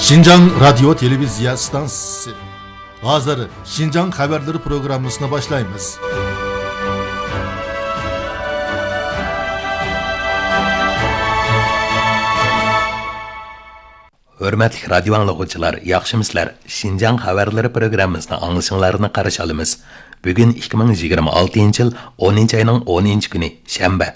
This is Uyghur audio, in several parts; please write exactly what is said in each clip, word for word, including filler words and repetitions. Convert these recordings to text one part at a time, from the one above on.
شىنجاڭ رادىيو تېلېۋىزىيە ئىستانسىسى. ھازىر شىنجاڭ خەۋەرلىرى پروگراممىسىنى باشلايمىز. ھۆرمەتلىك رادىيو ئاڭلىغۇچىلار، ياخشىمۇسىلەر؟ شىنجاڭ خەۋەرلىرى پروگراممىسىنى ئاڭلىشىڭلارنى قارشى ئالىمىز. بۈگۈن ئىككى مىڭ يىگىرمە ئالتىنچى يىل ئونىنچى ئاينىڭ ئونىنچى كۈنى، شەنبە.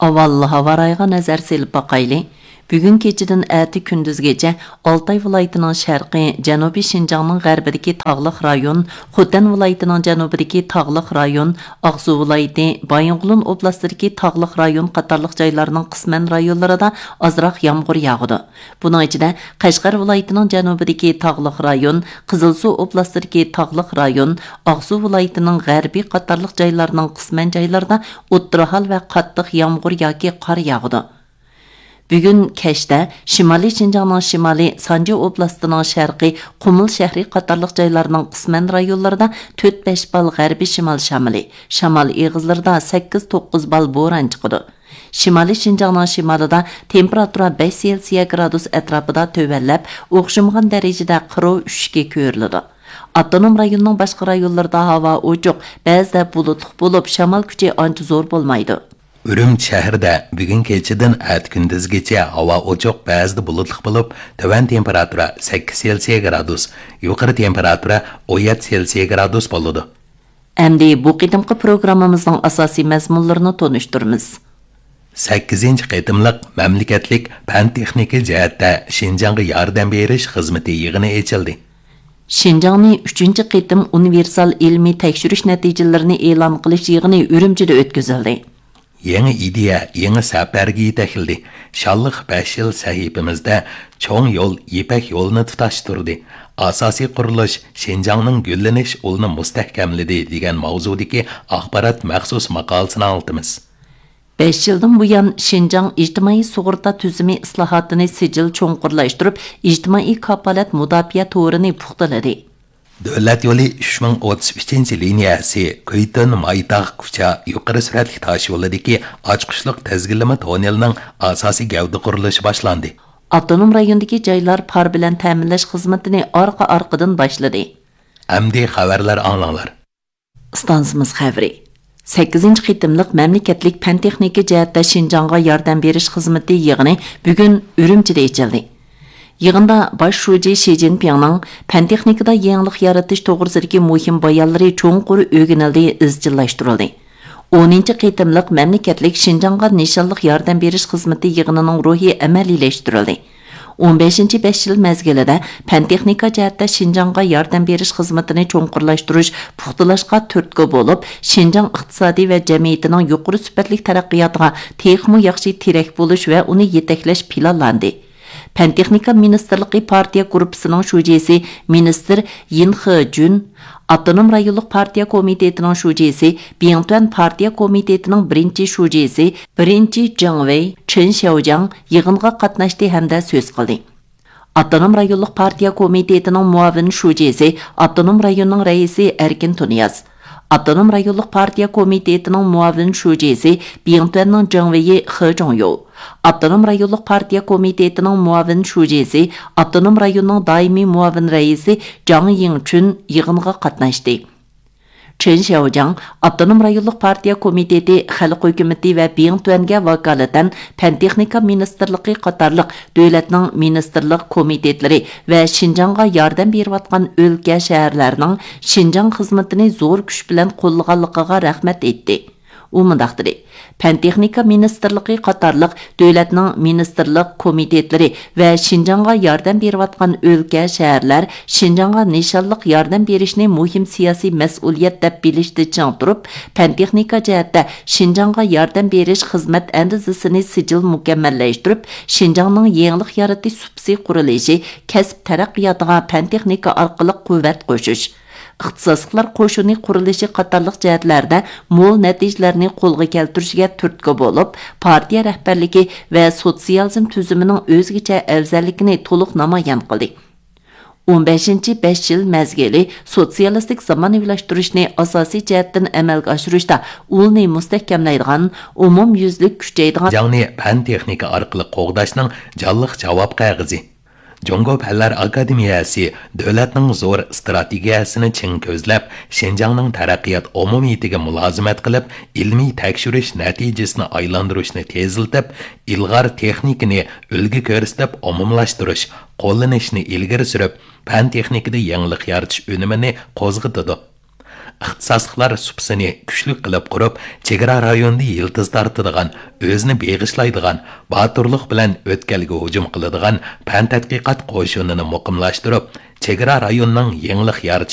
ئاۋۋال ھاۋا رايىغا نەزەر سېلىپ باقايلى. بۈگۈن كېچىدىن ئەتە كۈندۈزگىچە ئالتاي ۋىلايىتىنىڭ شەرقى، جەنۇبىي شىنجاڭنىڭ غەربىدىكى تاغلىق رايون، خوتەن ۋىلايىتىنىڭ جەنۇبىدىكى تاغلىق رايون، ئاقسۇ ۋىلايىتى، بايىنغولىن ئوبلاستىدىكى تاغلىق رايون قاتارلىق جايلارنىڭ قىسمەن رايونلىرىدا ئازراق يامغۇر ياغىدۇ. بۇنىڭ ئىچىدە، قەشقەر ۋىلايىتىنىڭ جەنۇبىدىكى تاغلىق رايون، قىزىلسۇ ئوبلاستىدىكى تاغلىق رايون، ئاقسۇ ۋىلايىتىنىڭ غەربىي قاتارلىق جايلارنىڭ قىسمەن جايلىرىدا ئوتتۇرا ھال ۋە قاتتىق يامغۇر ياكى قار ياغىدۇ. بۈگۈن كەچتە شىمالىي شىنجاڭنىڭ شىمالى، سانجى ئوبلاستىنىڭ شەرقى، قۇمۇل شەھىرى قاتارلىق جايلارنىڭ قىسمەن رايونلىرىدا تۆت بەش بال غەربىي شىمال شامىلى، شامال ئېغىزلىرىدا سەككىز توققۇز بال بوران چىقىدۇ. شىمالىي شىنجاڭنىڭ شىمالىدا تېمپېراتۇرا بەش سېلسىيە گرادۇس ئەتراپىدا تۆۋەنلەپ، ئوخشىمىغان دەرىجىدە قىروۋ ئۈشۈشكە كۆرۈلىدۇ. ئاپتونوم رايوننىڭ باشقا رايونلىرىدا ھاۋا ئوچۇق، بەزىدە بۇلۇتلۇق بولۇپ، شامال كۈچى ئانچە زور بولمايدۇ. ئۈرۈمچى شەھىرىدە بۈگۈن كېچىدىن ئەتە كۈندۈزگىچە ھاۋا ئوچۇق، بەزىدە بۇلۇتلۇق بولۇپ، تۆۋەن تېمپېراتۇرا سەككىز سېلسىيە گرادۇس، يۇقىرى تېمپېراتۇرا ئون يەتتە سېلسىيە گرادۇس بولىدۇ. ئەمدى بۇ قېتىمقى پروگراممىمىزنىڭ ئاساسىي مەزمۇنلىرىنى تونۇشتۇرىمىز. سەككىزىنچى قېتىملىق مەملىكەتلىك پەن-تېخنىكا جەھەتتە شىنجاڭغا ياردەم بېرىش خىزمىتى يىغىنى ئېچىلدى. شىنجاڭنى ئۈچىنچى قېتىم ئۇنىۋېرسال ئىلمىي تەكشۈرۈش نەتىجىلىرىنى ئېلان قىلىش يىغىنى ئۈرۈمچىدە ئۆتكۈزۈلدى. يېڭى ئىدىيە، يېڭى سەپەرگە يېتەكلىدى. شانلىق بەش يىل سەھىپىمىزدە چوڭ يول، يىپەك يولىنى تۇتاشتۇردى. ئاساسىي قۇرۇلۇش شىنجاڭنىڭ گۈللىنىش ئۇلىنى مۇستەھكەملىدى دېگەن ماۋزۇدىكى ئاخبارات مەخسۇس ماقالىسىنى ئاڭلىتىمىز. بەش يىلدىن بۇيان، شىنجاڭ ئىجتىمائىي سۇغۇرتا تۈزۈمى ئىسلاھاتىنى سىجىل چوڭقۇرلاشتۇرۇپ، ئىجتىمائىي كاپالەت مۇداپىئە تورىنى پۇختىلىدى. دۆلەت يولى ئۈچ مىڭ ئوتتۇز ئۈچىنچى لىنىيەسى كۈيتۈن مايتاغ كۇچا يۇقىرى سۈرئەتلىك تاش يولىدىكى ئاچقۇچلۇق تىزگىنلىمە توننېلىنىڭ ئاساسىي گەۋدە قۇرۇلۇشى باشلاندى. ئاپتونوم رايوندىكى جايلار پار بىلەن تەمىنلەش خىزمىتىنى ئارقا-ئارقىدىن باشلىدى. ئەمدى خەۋەرلەر ئاڭلاڭلار. ئىستانسىمىز خەۋىرى. سەككىزىنچى قېتىملىق مەملىكەتلىك پەن-تېخنىكا جەھەتتە شىنجاڭغا ياردەم بېرىش خىزمىتى يىغىنى بۈگۈن ئۈرۈمچىدە ئېچىلدى. يىغىندا باش شۇجى شى جىنپىڭنىڭ پەن-تېخنىكىدا يېڭىلىق يارىتىش توغرىسىدىكى مۇھىم بايانلىرى چوڭقۇر ئۆگىنىلدى، ئىزچىللاشتۇرۇلدى. ئونىنچى قېتىملىق مەملىكەتلىك شىنجاڭغا نىشانلىق ياردەم بېرىش خىزمىتى يىغىنىنىڭ روھى ئەمەلىيلەشتۈرۈلدى. ئون بەشىنچى بەش يىل مەزگىلىدە پەن-تېخنىكا جەھەتتە شىنجاڭغا ياردەم بېرىش خىزمىتىنى چوڭقۇرلاشتۇرۇش، پۇختىلاشقا تۈرتكە بولۇپ، شىنجاڭ ئىقتىسادى ۋە جەمئىيىتىنىڭ يۇقىرى سۈپەتلىك تەرەققىياتىغا تېخىمۇ ياخشى تىرەك بولۇش ۋە ئۇنى يېتەكلەش پىلانلاندى. پەن-تېخنىكا مىنىستىرلىقى پارتىيە گۇرۇپپىسىنىڭ شۇجىسى مىنىستىر يىن خېجۈن، ئاپتونوم رايونلۇق پارتىيە كومىتېتىنىڭ شۇجىسى، بىڭتۈەن پارتىيە كومىتېتىنىڭ بىرىنچى شۇجىسى، بىرىنچى جېڭ ۋېي، چېن شياۋجياڭ يىغىنغا قاتناشتى ھەمدە سۆز قىلدى. ئاپتونوم رايونلۇق پارتىيە كومىتېتىنىڭ مۇئاۋىن شۇجىسى، ئاپتونوم رايوننىڭ رەئىسى ئەركىن تۇنىياز، ئاپتونوم رايونلۇق پارتىيە كومىتېتىنىڭ مۇئاۋىن شۇجىسى، بىڭتۈەننىڭ جېڭ ۋېيى خې جۇڭيو، ئاپتونوم رايونلۇق پارتىيە كومىتېتىنىڭ مۇئاۋىن شۇجىسى، ئاپتونوم رايوننىڭ دائىمىي مۇئاۋىن رەئىسى جاڭ يىڭچۈن يىغىنغا قاتناشتى. چېن شياۋجياڭ ئاپتونوم رايونلۇق پارتىيە كومىتېتى، خەلق ھۆكۈمىتى ۋە بىڭتۈەنگە ۋاكالىتەن پەن-تېخنىكا مىنىستىرلىقى قاتارلىق دۆلەتنىڭ مىنىستىرلىق كومىتېتلىرى ۋە شىنجاڭغا ياردەم بېرىۋاتقان ئۆلكە، شەھەرلەرنىڭ شىنجاڭ خىزمىتىنى زور كۈچ بىلەن قوللىغانلىقىغا رەھمەت ئېيتتى. ئۇ مۇنداق دېدى، پەن-تېخنىكا مىنىستىرلىقى قاتارلىق دۆلەتنىڭ مىنىستىرلىق كومىتېتلىرى ۋە شىنجاڭغا ياردەم بېرىۋاتقان ئۆلكە، شەھەرلەر شىنجاڭغا نىشانلىق ياردەم بېرىشنى مۇھىم سىياسىي مەسئۇلىيەت دەپ بىلىشتە چىڭ تۇرۇپ، پەن-تېخنىكا جەھەتتە شىنجاڭغا ياردەم بېرىش خىزمەت ئەندىزىسىنى سىجىل مۇكەممەللەشتۈرۈپ، شىنجاڭنىڭ يېڭىلىق يارىتىش سۇپىسى قۇرۇلۇشى، كەسىپ تەرەققىياتىغا پەن-تېخنىكا ئارقىلىق قۇۋۋەت قوشۇش، ئىختىساسلىقلار قوشۇنى قۇرۇلۇشى قاتارلىق جەھەتلەردە مول نەتىجىلەرنى قولغا كەلتۈرۈشىگە تۈرتكە بولۇپ، پارتىيە رەھبەرلىكى ۋە سوتسىيالىزم تۈزۈمىنىڭ ئۆزگىچە ئەۋزەللىكىنى تولۇق نامايان قىلدى. ئون بەشىنچى بەش يىل مەزگىلى سوتسىيالىستىك زامانىۋىلاشتۇرۇشنى ئاساسىي جەھەتتىن ئەمەلگە ئاشۇرۇشتا ئۇلنى مۇستەھكەملەيدىغان، ئومۇميۈزلۈك كۈچەيدىغان، جاڭنى پەن-تېخنىكا ئارقىلىق قوغداشنىڭ جانلىق جاۋاب قەغىزى. جۇڭگو پەنلەر ئاكادېمىيەسى دۆلەتنىڭ زور ئىستراتېگىيەسىنى چىڭ كۆزلەپ، شىنجاڭنىڭ تەرەققىيات ئومۇمىيىتىگە مۇلازىمەت قىلىپ، ئىلمىي تەكشۈرۈش نەتىجىسىنى ئايلاندۇرۇشنى تېزلىتىپ، ئىلغار تېخنىكىنى ئۈلگە كۆرسىتىپ ئومۇملاشتۇرۇش، قوللىنىشنى ئىلگىرى سۈرۈپ، پەن تېخنىكىدا يېڭىلىق يارىتىش ئۈنۈمىنى قوزغىتىدۇ. ئىختىساسلىقلار سۇپىسىنى كۈچلۈك قىلىپ قۇرۇپ، چېگرا رايونىدا يىلتىز تارتىدىغان، ئۆزىنى بېغىشلايدىغان، باتۇرلۇق بىلەن ئۆتكەلگە ھۇجۇم قىلىدىغان پەن تەتقىقات قوشۇنىنى مۇقىملاشتۇرۇپ، چېگرا رايونىنىڭ يېڭىلىق يارىتىش